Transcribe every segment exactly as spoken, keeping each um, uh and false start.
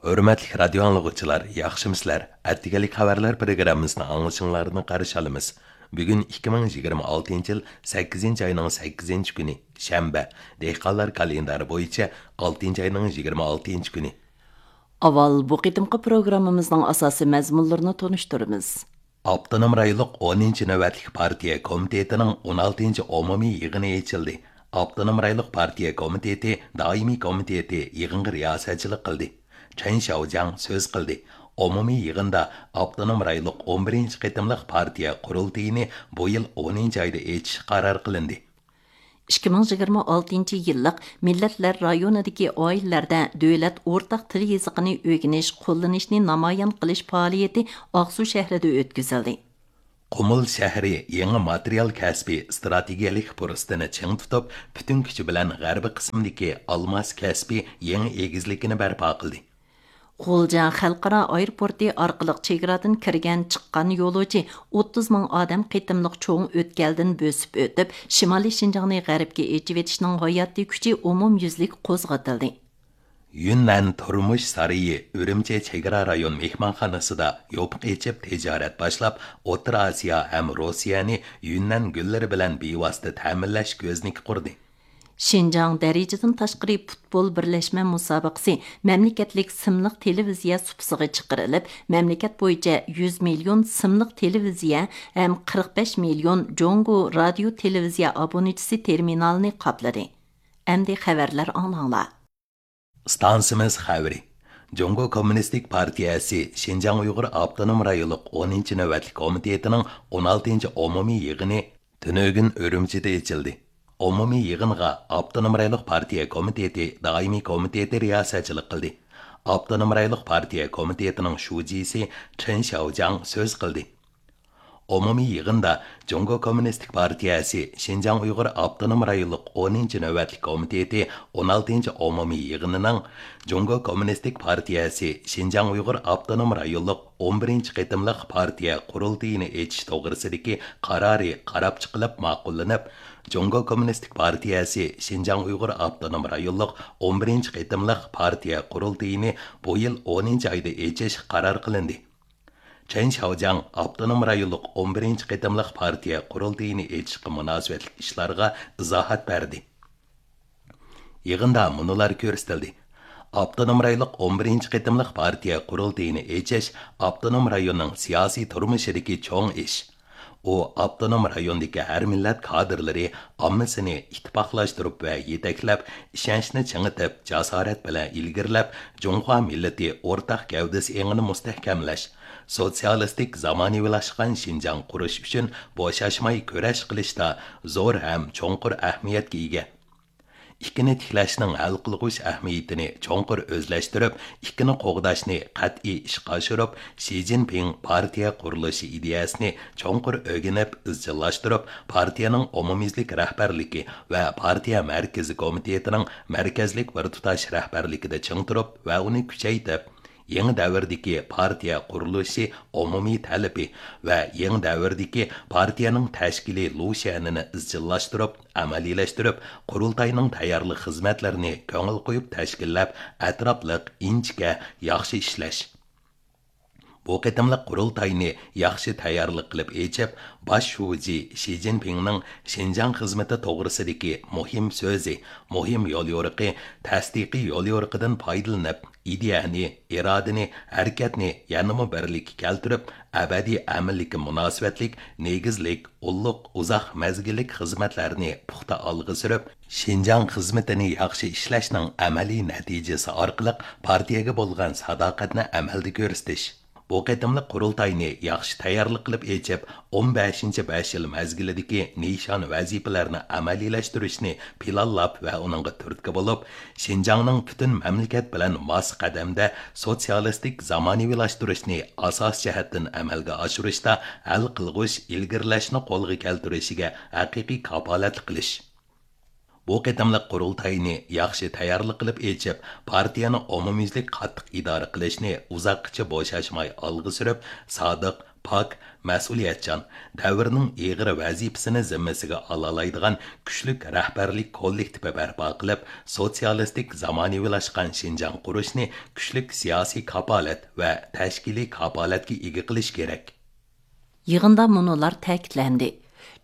ھۆرمەتلىك رادىيو ئاڭلىغۇچىلار، ياخشىمۇسىلەر؟ ئەتىگەنلىك خەۋەرلەر پروگراممىسىنى ئاڭلىشىڭلارنى قارشى ئالىمىز. بۈگۈن ئىككى مىڭ يىگىرمە ئالتىنچى يىل سەككىزىنچى ئاينىڭ سەككىزىنچى كۈنى، شەنبە. دېھقانلار كالېندارى بويىچە ئالتىنچى ئاينىڭ يىگىرمە ئالتىنچى كۈنى. ئاۋۋال بۇ قېتىمقى پروگراممىمىزنىڭ ئاساسىي مەزمۇنلىرىنى تونۇشتۇرىمىز. ئاپتونوم رايونلۇق ئونىنچى نۆۋەتلىك پارتىيە كومىتېتىنىڭ ئون ئالتىنچى ئومۇمىي يىغىنى ئېچىلدى. ئاپتونوم رايونلۇق پارتىيە كومىتېتى دائىمىي كومىتېتى يىغىنغا رىياسەتچىلىك قىلدى. چېن شياۋجياڭ سۆز قىلدى. ئومۇمىي يىغىندا ئاپتونوم رايونلۇق ئون بىرىنچى قېتىملىق پارتىيە قۇرۇلتىيىنى بۇ يىل ئونىنچى ئايدا ئېچىش قارار قىلىندى. ئىككى مىڭ يىگىرمە ئالتىنچى يىللىق مىللەتلەر رايونىدىكى ئائىلىلەردە دۆلەت ئورتاق تىل يېزىقىنى ئۆگىنىش، قوللىنىشنى نامايان قىلىش پائالىيىتى ئاقسۇ شەھىرىدە ئۆتكۈزۈلدى. قۇمۇل شەھىرى يېڭى ماتېرىيال كەسپى ئىستراتېگىيەلىك پۇرسىتىنى چىڭ تۇتۇپ، پۈتۈن كۈچى بىلەن غەربىي قىسىمدىكى ئالماس كەسپى يېڭى ئېگىزلىكىنى بەرپا قىلدى. غۇلجا خەلقئارا ئايروپورتى ئارقىلىق چېگرادىن كىرگەن، چىققان يولۇچى ئوتتۇز مىڭ ئادەم قېتىملىق چوڭ ئۆتكەلدىن بۆسۈپ ئۆتۈپ، شىمالىي شىنجاڭنى غەربكە ئېچىۋېتىشنىڭ ھاياتىي كۈچى ئومۇميۈزلۈك قوزغىتىلدى. يۈننەن تۇرمۇش سارىيى ئۈرۈمچى چېگرا رايون مېھمانخانىسىدا يوپۇق ئېچىپ تىجارەت باشلاپ، ئوتتۇرا ئاسىيا ھەم روسىيەنى يۈننەن گۈللىرى بىلەن بىۋاسىتە تەمىنلەش كۆزنىكى قۇردى. شىنجاڭ دەرىجىدىن تاشقىرى پۇتبول بىرلەشمە مۇسابىقىسى مەملىكەتلىك سىملىق تېلېۋىزىيە سۇپىسىغا چىقىرىلىپ، مەملىكەت بويىچە يۈز مىليون سىملىق تېلېۋىزىيە ھەم قىرىق بەش مىليون جۇڭگو رادىيو تېلېۋىزىيە ئابونېنتىسى تېرمىنالىنى قاپلىدى. ئەمدى خەۋەرلەر ئاڭلاڭلار. ئىستانسىمىز خەۋىرى. جۇڭگو كوممۇنىستىك پارتىيەسى شىنجاڭ ئۇيغۇر ئاپتونوم رايونلۇق ئونىنچى نۆۋەتلىك كومىتېتىنىڭ ئون ئالتىنچى ئومۇمىي يىغىنى تۈنۈگۈن ئۈرۈمچىدە ئېچىلدى. ئومۇمىي يىغىنغا ئاپتونوم رايونلۇق پارتىيە كومىتېتى دائىمىي كومىتېتى رىياسەتچىلىك قىلدى. ئاپتونوم رايونلۇق پارتىيە كومىتېتىنىڭ شۇجىسى چېن شياۋجياڭ سۆز قىلدى. ئومۇمىي يىغىندا جۇڭگو كوممۇنىستىك پارتىيەسى شىنجاڭ ئۇيغۇر ئاپتونوم رايونلۇق ئونىنچى نۆۋەتلىك كومىتېتى ئون ئالتىنچى ئومۇمىي يىغىنىنىڭ جۇڭگو كوممۇنىستىك پارتىيەسى شىنجاڭ ئۇيغۇر ئاپتونوم رايونلۇق ئون بىرىنچى قېتىملىق پارتىيە قۇرۇلتىيىنى ئېچىش توغرىسىدىكى قارارى قاراپ چىقىلىپ ماقۇللىنىپ، جۇڭگو كوممۇنىستىك پارتىيەسى شىنجاڭ ئۇيغۇر ئاپتونوم رايونلۇق ئون بىرىنچى قېتىملىق پارتىيە قۇرۇلتىيىنى بۇ يىل ئونىنچى ئايدا ئېچىش قارار قىلىندى. چېن شياۋجياڭ ئاپتونوم رايونلۇق ئون بىرىنچى قېتىملىق پارتىيە قۇرۇلتىيىنى ئېچىشقا مۇناسىۋەتلىك ئىشلارغا ئىزاھات بەردى. يىغىندا مۇنۇلار كۆرسىتىلدى: ئاپتونوم رايونلۇق ئون بىرىنچى قېتىملىق پارتىيە قۇرۇلتىيىنى ئېچىش ئاپتونوم رايوننىڭ سىياسىي تۇرمۇشىدىكى چوڭ ئىش. ئۇ ئاپتونوم رايوندىكى ھەر مىللەت كادىرلىرى ئاممىسىنى ئىتتىپاقلاشتۇرۇپ ۋە يېتەكلەپ، ئىشەنچنى چىڭىتىپ، جاسارەت بىلەن ئىلگىرىلەپ، جۇڭخۇا مىللىتى ئورتاق گەۋدىسى ئېڭىنى مۇستەھكەملەش، سوتسىيالىستىك زامانىۋىلاشقان شىنجاڭ قۇرۇش ئۈچۈن بوشاشماي كۈرەش قىلىشتا زور ھەم چوڭقۇر ئەھمىيەتكە ئىگە. ئىككىنى تىكلەشنىڭ ھەل قىلغۇچ ئەھمىيىتىنى چوڭقۇر ئۆزلەشتۈرۈپ، ئىككىنى قوغداشنى قەتئىي ئىشقا ئاشۇرۇپ، شى جىنپىڭ پارتىيە قۇرۇلۇشى ئىدىيەسىنى چوڭقۇر ئۆگىنىپ ئىزچىللاشتۇرۇپ، پارتىيەنىڭ ئومۇميۈزلۈك رەھبەرلىكى ۋە پارتىيە مەركىزىي كومىتېتىنىڭ مەركەزلىك بىر تۇتاش رەھبەرلىكىدە چىڭ تۇرۇپ ۋە ئۇنى كۈچەيتىپ، يېڭى دەۋردىكى پارتىيە قۇرۇلۇشى ئومۇمىي تەلىپى ۋە يېڭى دەۋردىكى پارتىيەنىڭ تەشكىلىي لۇشيەنىنى ئىزچىللاشتۇرۇپ، ئەمەلىيلەشتۈرۈپ، قۇرۇلتاينىڭ تەييارلىق خىزمەتلىرىنى كۆڭۈل قويۇپ تەشكىللەپ، ئەتراپلىق، ئىنچىكە، ياخشى ئىشلەش. بۇ قېتىملىق قۇرۇلتاينى ياخشى تەييارلىق قىلىپ ئېچىپ، باش شۇجى شى جىنپىڭنىڭ شىنجاڭ خىزمىتى توغرىسىدىكى مۇھىم سۆزى، مۇھىم يوليورۇقى، تەستىقىي يوليورۇقىدىن پايدىلىنىپ، ئىدىيەنى، ئىرادىنى، ھەرىكەتنى يەنىمۇ بىرلىككە كەلتۈرۈپ، ئەبەدىي ئەمىنلىككە مۇناسىۋەتلىك نېگىزلىك، ئۇللۇق، ئۇزاق مەزگىللىك خىزمەتلەرنى پۇختا ئالغا سۈرۈپ، شىنجاڭ خىزمىتىنى ياخشى ئىشلەشنىڭ ئەمەلىي نەتىجىسى ئارقىلىق پارتىيەگە بولغان ساداقەتنى ئەمەلدە كۆرسىتىش. بۇ قېتىملىق قۇرۇلتاينى ياخشى تەييارلىق قىلىپ ئېچىپ، ئون بەشىنچى بەش يىل مەزگىلىدىكى نىشان ۋەزىپىلەرنى ئەمەلىيلەشتۈرۈشنى پىلانلاپ ۋە ئۇنىڭغا تۈرتكە بولۇپ، شىنجاڭنىڭ پۈتۈن مەملىكەت بىلەن ماس قەدەمدە سوتسىيالىستىك زامانىۋىلاشتۇرۇشنى ئاساسىي جەھەتتىن ئەمەلگە ئاشۇرۇشتا ھەل قىلغۇچ ئىلگىرىلەشنى قولغا كەلتۈرۈشىگە ھەقىقىي كاپالەتلىك قىلىش. بۇ قېتىملىق قۇرۇلتاينى ياخشى تەييارلىق قىلىپ ئېچىپ، پارتىيەنى ئومۇميۈزلۈك قاتتىق ئىدارە قىلىشنى ئۇزاققىچە بوشاشماي ئالغا سۈرۈپ، سادىق، پاك، مەسئۇلىيەتچان، دەۋرنىڭ ئېغىر ۋەزىپىسىنى زىممىسىگە ئالالايدىغان كۈچلۈك رەھبەرلىك كوللېكتىپى بەرپا قىلىپ، سوتسىيالىستىك زامانىۋىلاشقان شىنجاڭ قۇرۇشنى كۈچلۈك سىياسىي كاپالەت ۋە تەشكىلىي كاپالەتكە ئىگە قىلىش كېرەك. يىغىندا مۇنۇلار تەكىتلەندى: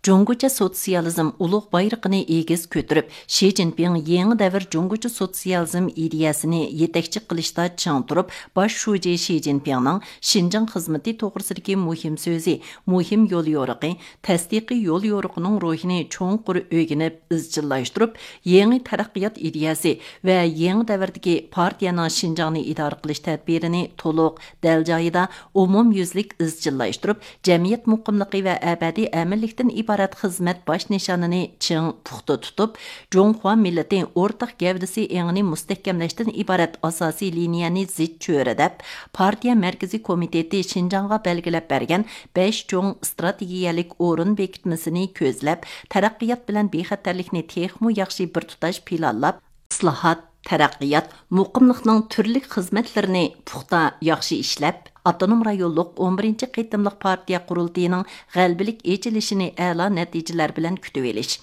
جۇڭگوچە سوتسىيالىزم ئۇلۇغ بايرىقىنى ئېگىز كۆتۈرۈپ، شى جىنپىڭ يېڭى دەۋر جۇڭگوچە سوتسىيالىزم ئىدىيەسىنى يېتەكچى قىلىشتا چىڭ تۇرۇپ، باش شۇجى شى جىنپىڭنىڭ شىنجاڭ خىزمىتى توغرىسىدىكى مۇھىم سۆزى، مۇھىم يوليورۇقى، تەستىقىي يوليورۇقىنىڭ روھىنى چوڭقۇر ئۆگىنىپ، ئىزچىللاشتۇرۇپ، يېڭى تەرەققىيات ئىدىيەسى ۋە يېڭى دەۋردىكى پارتىيەنىڭ شىنجاڭنى ئىدارە قىلىش تەدبىرىنى تولۇق، دەل جايىدا، ئومۇميۈزلۈك ئىزچىللاشتۇرۇپ، جەمئىيەت مۇقىملىقى ۋە ئەبەدىي ئەمىنلىكتىن ئىبارەت خىزمەت باش نىشانىنى چىڭ پۇختا تۇتۇپ، جۇڭخۇا مىللىتى ئورتاق گەۋدىسى ئېڭىنى مۇستەھكەملەشتىن ئىبارەت ئاساسىي لىنىيەنى زىچ چۆرىدەپ، پارتىيە مەركىزىي كومىتېتى شىنجاڭغا بەلگىلەپ بەرگەن بەش چوڭ ئىستراتېگىيەلىك ئورۇن بېكىتمىسىنى كۆزلەپ، تەرەققىيات بىلەن بىخەتەرلىكنى تېخىمۇ ياخشى بىر تۇتاش پىلانلاپ، ئىسلاھات، تەرەققىيات، مۇقىملىقنىڭ تۈرلۈك خىزمەتلىرىنى پۇختا، ياخشى ئىشلەپ، ئاپتونوم رايونلۇق ئون بىرىنچى قېتىملىق پارتىيە قۇرۇلتىيىنىڭ غەلىبىلىك ئېچىلىشىنى ئەلا نەتىجىلەر بىلەن كۈتۈۋېلىش.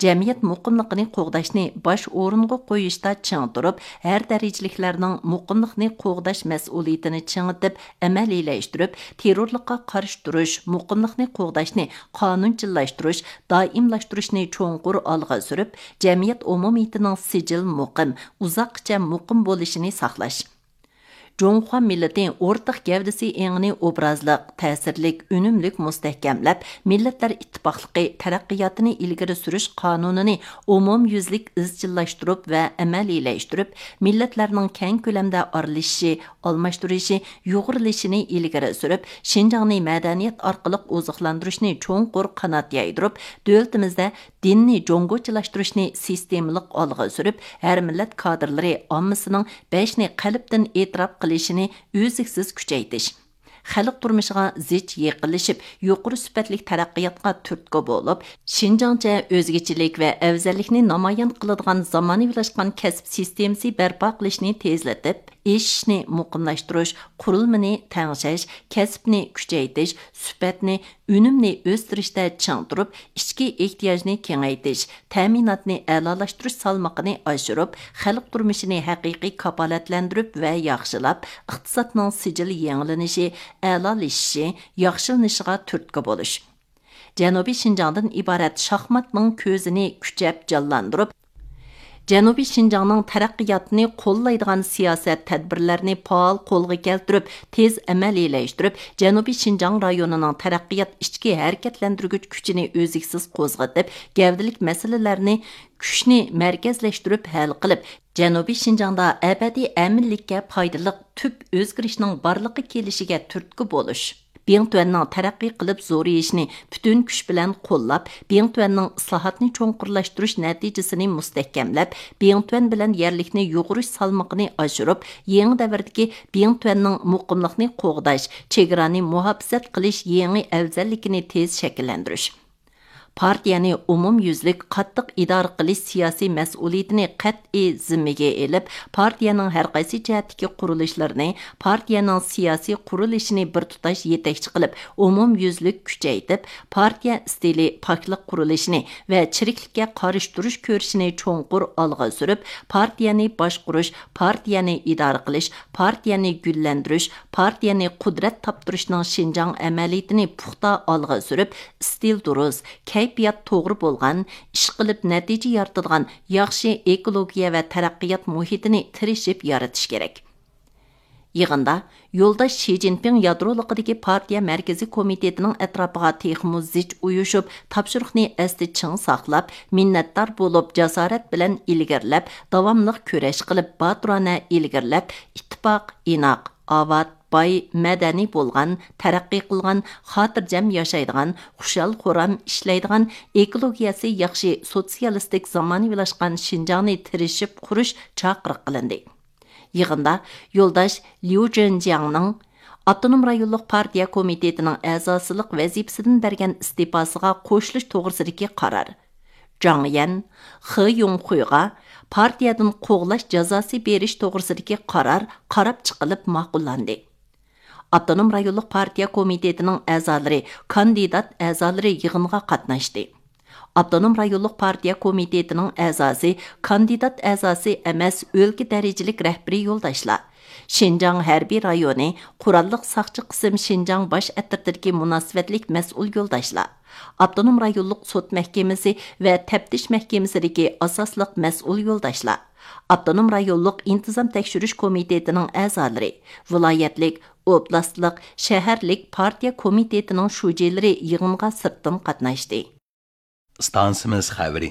جەمئىيەت مۇقىملىقىنى قوغداشنى باش ئورۇنغا قويۇشتا چىڭ تۇرۇپ، ھەر دەرىجىلىكلەرنىڭ مۇقىملىقنى قوغداش مەسئۇلىيىتىنى چىڭىتىپ ئەمەلىيلەشتۈرۈپ، تېررورلۇققا قارشى تۇرۇش، مۇقىملىقنى قوغداشنى قانۇنچىللاشتۇرۇش، دائىملاشتۇرۇشنى چوڭقۇر ئالغا سۈرۈپ، جەمئىيەت ئومۇمىيىتىنىڭ سىجىل مۇقىم، ئۇزاققىچە مۇقىم بولۇشىنى ساقلاش. جۇڭخۇا مىللىتى ئورتاق گەۋدىسى ئېڭىنى ئوبرازلىق، تەسىرلىك، ئۈنۈملۈك مۇستەھكەملەپ، مىللەتلەر ئىتتىپاقلىقى تەرەققىياتىنى ئىلگىرى سۈرۈش قانۇنىنى ئومۇميۈزلۈك ئىزچىللاشتۇرۇپ ۋە ئەمەلىيلەشتۈرۈپ، مىللەتلەرنىڭ كەڭ كۆلەمدە ئارىلىشىشى، ئالماشتۇرۇشى، يۇغۇرۇلۇشىنى ئىلگىرى سۈرۈپ، شىنجاڭنى مەدەنىيەت ئارقىلىق ئوزۇقلاندۇرۇشنى چوڭقۇر قانات يايدۇرۇپ، دۆلىتىمىزدە دىننى جۇڭگوچىلاشتۇرۇشنى سىستېمىلىق ئالغا سۈرۈپ، ھەر مىللەت كادىرلىرى ئاممىسىنىڭ بەشنى قەلبتىن ئېتىراپ قىلىشىنى ئۈزلۈكسىز كۈچەيتىش، خەلق تۇرمۇشىغا زىچ يېقىنلىشىپ، يۇقىرى سۈپەتلىك تەرەققىياتقا تۈرتكە بولۇپ، شىنجاڭچە ئۆزگىچىلىك ۋە ئەۋزەللىكنى نامايان قىلىدىغان زامانىۋىلاشقان كەسىپ سىستېمىسى بەرپا قىلىشنى تېزلىتىپ، ئېشىشنى مۇقىملاشتۇرۇش، قۇرۇلمىنى تەڭشەش، كەسىپنى كۈچەيتىش، سۈپەتنى، ئۈنۈمنى ئۆستۈرۈشتە چىڭ تۇرۇپ، ئىچكى ئېھتىياجنى كېڭەيتىش، تەمىناتنى ئەلالاشتۇرۇش سالمىقىنى ئاشۇرۇپ، خەلق تۇرمۇشىنى ھەقىقىي كاپالەتلەندۈرۈپ ۋە ياخشىلاپ، ئىقتىسادنىڭ سىجىل يېڭىلىنىشى، ئەلالىشىشى، ياخشىلىنىشىغا تۈرتكە بولۇش. جەنۇبىي شىنجاڭدىن ئىبارەت شاھماتنىڭ كۆزىنى كۈچەپ جانلاندۇرۇپ، جەنۇبىي شىنجاڭنىڭ تەرەققىياتىنى قوللايدىغان سىياسەت تەدبىرلەرنى پائال قولغا كەلتۈرۈپ، تېز ئەمەلىيلەشتۈرۈپ، جەنۇبىي شىنجاڭ رايونىنىڭ تەرەققىيات ئىچكى ھەرىكەتلەندۈرگۈچ كۈچىنى ئۈزلۈكسىز قوزغىتىپ، گەۋدىلىك مەسىلىلەرنى كۈچنى مەركەزلەشتۈرۈپ ھەل قىلىپ، جەنۇبىي شىنجاڭدا ئەبەدىي ئەمىنلىككە پايدىلىق تۈپ ئۆزگىرىشنىڭ بارلىققا كېلىشىگە تۈرتكە بولۇش. بىڭتۈەننىڭ تەرەققىي قىلىپ زورىيىشىنى پۈتۈن كۈچ بىلەن قوللاپ، بىڭتۈەننىڭ ئىسلاھاتنى چوڭقۇرلاشتۇرۇش نەتىجىسىنى مۇستەھكەملەپ، بىڭتۈەن بىلەن يەرلىكنى يۇغۇرۇش سالمىقىنى ئاشۇرۇپ، يېڭى دەۋردىكى بىڭتۈەننىڭ مۇقىملىقنى قوغداش، چېگرانى مۇھاپىزەت قىلىش يېڭى ئەۋزەللىكىنى تېز شەكىللەندۈرۈش. پارتىيەنى ئومۇميۈزلۈك قاتتىق ئىدارە قىلىش سىياسىي مەسئۇلىيىتىنى قەتئىي زىممىگە ئېلىپ، پارتىيەنىڭ ھەرقايسى جەھەتتىكى قۇرۇلۇشلىرىنى، پارتىيەنىڭ سىياسىي قۇرۇلۇشىنى بىر تۇتاش يېتەكچى قىلىپ، ئومۇميۈزلۈك كۈچەيتىپ، پارتىيە ئىستىلى پاكلىق قۇرۇلۇشىنى ۋە چىرىكلىككە قارشى تۇرۇش كۈرىشىنى چوڭقۇر ئالغا سۈرۈپ، پارتىيەنى باشقۇرۇش، پارتىيەنى ئىدارە قىلىش، پارتىيەنى گۈللەندۈرۈش، پارتىيەنى قۇدرەت تاپتۇرۇشنىڭ شىنجاڭ ئەمەلىيىتىنى پۇختا ئالغا سۈرۈپ، ئىستىل دۇرۇس، كەيپىيات توغرا بولغان، ئىشقىلىپ نەتىجە يارىتىدىغان ياخشى ئېكولوگىيە ۋە تەرەققىيات مۇھىتىنى تىرىشىپ يارىتىش كېرەك. يىغىندا يولداش شى جىنپىڭ يادرولۇقىدىكى پارتىيە مەركىزىي كومىتېتىنىڭ ئەتراپىغا تېخىمۇ زىچ ئۇيۇشۇپ، تاپشۇرۇقنى ئەستە چىڭ ساقلاپ، مىننەتدار بولۇپ، جاسارەت بىلەن ئىلگىرىلەپ، داۋاملىق كۈرەش قىلىپ، باتۇرانە ئىلگىرىلەپ، ئىتتىپاق، ئىناق، ئاۋات، باي، مەدەنىي بولغان، تەرەققىي قىلغان، خاتىرجەم ياشايدىغان، خۇشال-خۇرام ئىشلەيدىغان، ئېكولوگىيەسى ياخشى، سوتسىيالىستىك زامانىۋىلاشقان شىنجاڭنى تىرىشىپ قۇرۇش چاقىرىق قىلىندى. يىغىندا يولداش ليۇ جېنجياڭنىڭ ئاپتونوم رايونلۇق پارتىيە كومىتېتىنىڭ ئەزاسىلىق ۋەزىپىسىدىن بەرگەن ئىستېپاسىغا قوشۇلۇش توغرىسىدىكى قارار، جاڭ يەن، خې يۇڭخۇيغا پارتىيەدىن قوغلاش جازاسى بېرىش توغرىسىدىكى قارار قاراپ چىقىلىپ ماقۇللاندى. ئاپتونوم رايونلۇق پارتىيە كومىتېتىنىڭ ئەزالىرى، كاندىدات ئەزالىرى يىغىنغا قاتناشتى. ئاپتونوم رايونلۇق پارتىيە كومىتېتىنىڭ ئەزاسى، كاندىدات ئەزاسى ئەمەس، ئۆلكە دەرىجىلىك رەھبىرىي يولداشلار، شىنجاڭ ھەربىي رايونى قوراللىق ساقچى قىسىم شىنجاڭ باش ئەترىتىدىكى مۇناسىۋەتلىك مەسئۇل يولداشلار، ئاپتونوم رايونلۇق سوت مەھكىمىسى ۋە تەپتىش مەھكىمىسىدىكى ئاساسلىق مەسئۇل يولداشلار، ئاپتونوم رايونلۇق ئىنتىزام تەكشۈرۈش كومىتېتىنىڭ ئەزالىرى، ۋىلايەتلىك، ئوبلاستلىق، شەھەرلىك پارتىيە كومىتېتىنىڭ شۇجىلىرى يىغىنغا سىرتتىن قاتناشتى. ئىستانسىمىز خەۋىرى.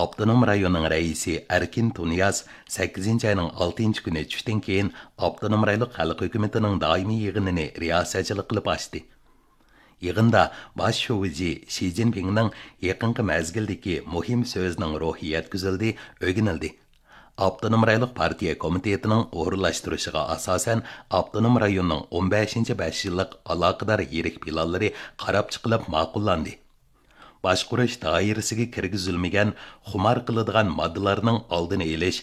ئاپتونوم رايوننىڭ رەئىسى ئەركىن تۇنىياز سەككىزىنچى ئاينىڭ ئالتىنچى كۈنى چۈشتىن كېيىن ئاپتونوم رايونلۇق خەلق ھۆكۈمىتىنىڭ دائىمىي يىغىنىنى رىياسەتچىلىك قىلىپ ئاچتى. يىغىندا باش شۇجى شى جىنپىڭنىڭ يېقىنقى مەزگىلدىكى مۇھىم سۆزىنىڭ روھى يەتكۈزۈلدى، ئۆگىنىلدى. ئاپتونوم رايونلۇق پارتىيە كومىتېتىنىڭ ئورۇنلاشتۇرۇشىغا ئاساسەن، ئاپتونوم رايوننىڭ ئون بەشىنچى بەش يىللىق ئالاقىدار يىرىك پىلانلىرى قاراپ چىقىلىپ ماقۇللاندى. باشقۇرۇش دائىرىسىگە كىرگۈزۈلمىگەن خۇمار قىلىدىغان ماددىلارنىڭ ئالدىنى ئېلىش،